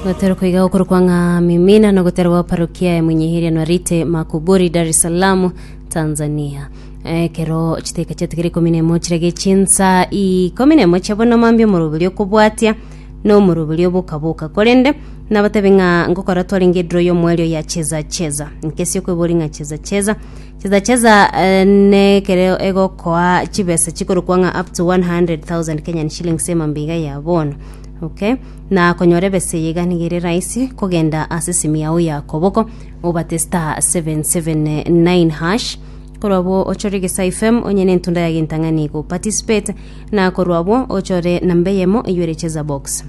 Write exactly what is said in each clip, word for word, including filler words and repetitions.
Gotero koiga gokorokwa ng'a mimina na gotero gwa parokia ya Mwenyeheria Nwarite Makuburi, Dar es Salaam, Tanzania. Ekero chiteka chiatigire ikomi na emo chirage chinsa ikomi na emo chia bono mambia, omoroberi okobwatia na omoroberi obokaboka. Korende nabatebi ng'a ngokora twarenge edraw y'omwerio ya Cheza Cheza. Nkesi okoibori ng'a Cheza Cheza, Cheza Cheza eh, nekere egokoa chibesa chikorokwa ng'a up to one hundred thousand Kenyan shillings emambiga ya bono. Okay, na konyora ebesa eye iga nigo ere rahisi kogenda ase esimu yao ya koboko, obate star seven seven nine hash, korwa abwo ochore Gesa F M onye nentunda ya gentang'ani go participate, na korwa abwo ochore namba eyemo eywo ere Cheza Box.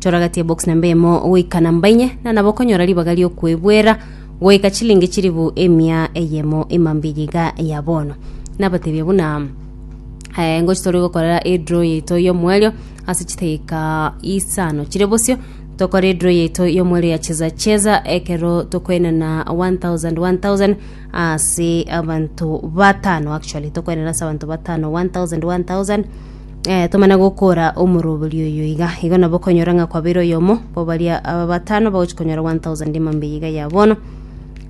Chora gati ya box namba eyemo goika namba inye, na nabo okonyora ribaga riokwebwera goika chilingi chiribu emia eyemo emambia iga ya bono. Nabatebia buna eh, ngochi tori gokorera edraw yaito y'omwerio ase chidakika isano chire bosio. Tokore edraw yaito y'omwerio ya Cheza Cheza ekero tokoenana one thousand one thousand ase abanto batano. Actually, tokoenana ase abanto batano one thousand one thousand, eh, tomana gokora omoroberi oyo iga. Igo nabo okonyora ng'a kwabeire oyomo bo baria aba batano bagochi konyora one thousand emambia iga ya bono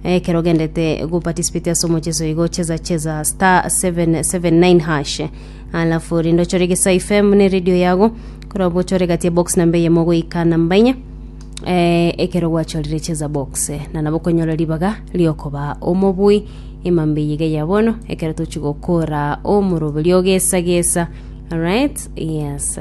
ekero ogendete go participate ase omocheso igo Cheza Cheza, star seven seven nine hash, alafu rinde ochore Gesa F M ne radio yago, korwa ochore gati ya box namba eyemo goika namba inye. eh, ekero gwachorire Cheza Box, eh, na nabo okonyora ribaga riokoba omobui emambia iga ya bono ekero tochi gokora omoroberi ogesa gesa. Alright, yes.